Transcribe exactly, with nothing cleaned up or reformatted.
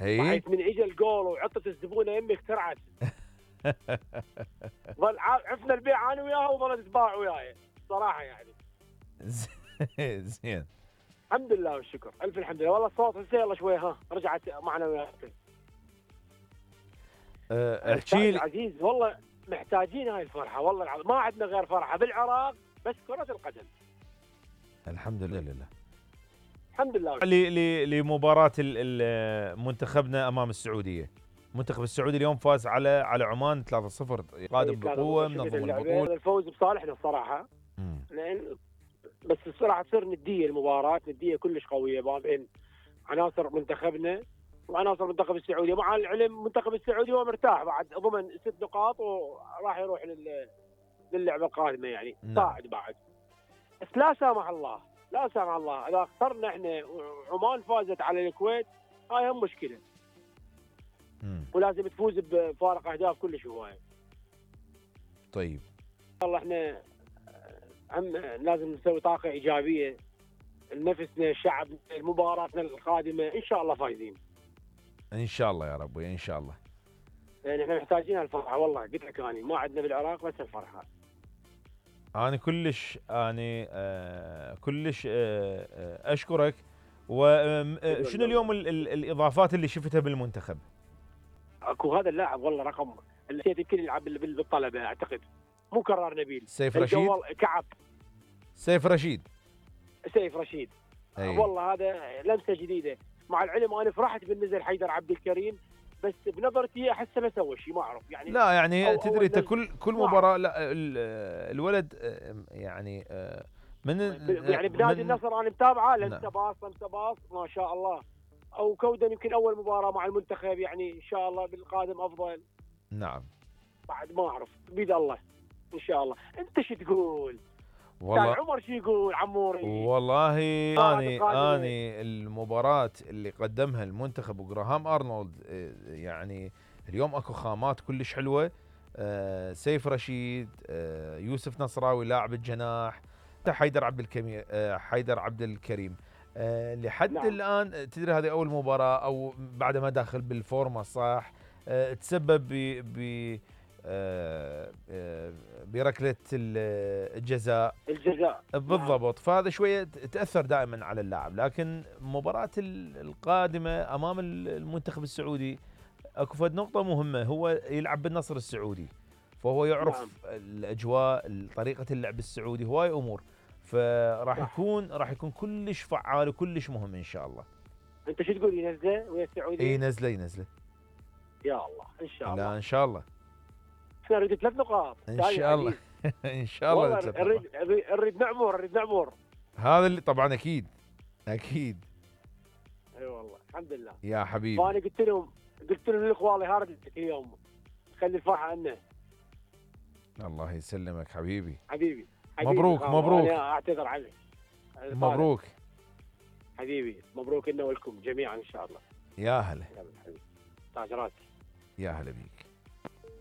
اي بحيث من اجى الجول وعطت الزبونه يمي اخترعت. ظل عفنا البيع انا وياها وظلت تباع وياي صراحه يعني. زين الحمد لله والشكر، الف الحمد لله. والله الصوت هسه يلا شوي ها رجعت معنا وياك. أه احكي لي عزيز، والله محتاجين هاي الفرحه، والله العظيم ما عندنا غير فرحه بالعراق بس كره القدم. الحمد لله. الحمد لله. لمباراه منتخبنا امام السعوديه. المنتخب السعودي اليوم فاز على على عمان ثلاثة صفر، قادم بقوه منظم البطوله. الفوز بصالحنا الصراحه، لان بس الصراحه تصير نديه المباراه، نديه كلش قويه ما بين عناصر منتخبنا وعناصر منتخب السعوديه. مع العلم منتخب السعودي هو مرتاح بعد ضمن ست نقاط وراح يروح لل للعبه القادمه يعني صاعد بعد. بس لا سامح الله لا سامح الله اذا خسرنا احنا وعمان فازت على الكويت هاي هم مشكله. مم. ولازم تفوز بفارق اهداف كلش هوايه. طيب والله احنا هم لازم نسوي طاقه ايجابيه لنفسنا الشعب. مباراتنا القادمه ان شاء الله فايزين ان شاء الله يا رب ان شاء الله. يعني احنا محتاجين الفرحه والله، قلت لك اني ما عندنا بالعراق بس الفرحه. انا كلش اني آه كلش آه آه اشكرك. وشنو اليوم ال ال الاضافات اللي شفتها بالمنتخب؟ اكو هذا اللاعب والله رقم اللي يمكن يلعب بالطلبه اعتقد، مو كرار نبيل، سيف رشيد. كعب سيف رشيد سيف رشيد أي. والله هذا لمسه جديده. مع العلم انا فرحت بالنزل حيدر عبد الكريم، بس بنظرتي احسه ما سوى شيء ما اعرف يعني. لا يعني أو تدري انت كل كل مباراه لا الولد يعني من يعني بنادي النصر انا متابعه لمسه باص لمسه باص ما شاء الله. او كودن يمكن اول مباراه مع المنتخب يعني ان شاء الله بالقادم افضل. نعم بعد ما اعرف بيد الله ان شاء الله. انت شو تقول؟ والله عمر شو يقول عموري؟ والله اني اني المباراه اللي قدمها المنتخب وجراهام ارنولد يعني اليوم اكو خامات كلش حلوه. أه سيف رشيد، أه يوسف نصراوي لاعب الجناح، حيدر عبد الكريم أه حيدر عبد الكريم أه لحد نعم. الان تدري هذه اول مباراه او بعد ما داخل بالفورمه صح. أه تسبب ب أه أه بركله الجزاء الجزاء بالضبط. فهذا شويه تاثر دائما على اللاعب. لكن مباراه القادمه امام المنتخب السعودي اكو فد نقطه مهمه، هو يلعب بالنصر السعودي فهو يعرف نعم. الاجواء طريقه اللعب السعودي هواي امور، فراح يكون راح يكون كلش فعال وكلش مهم ان شاء الله. انت شو تقول ينزله ويا السعوديه؟ اي نزله ينزله يا الله ان شاء الله. لا ان شاء الله احنا نريد ثلاث نقاط ان شاء الله. ان شاء الله والله نريد نريد نعمر نريد نعمر هذا اللي طبعا اكيد اكيد. اي أيوة والله الحمد لله يا حبيبي. فانا قلت لهم قلت لهم لاخوالي هاردتك اليوم خلي الفرحه عنا. الله يسلمك حبيبي حبيبي, حبيبي. مبروك مبروك. انا اعتذر عنك. مبروك حبيبي مبروك لنا ولكم جميعا ان شاء الله. يا هلا تاج راسي. يا هلا بيك.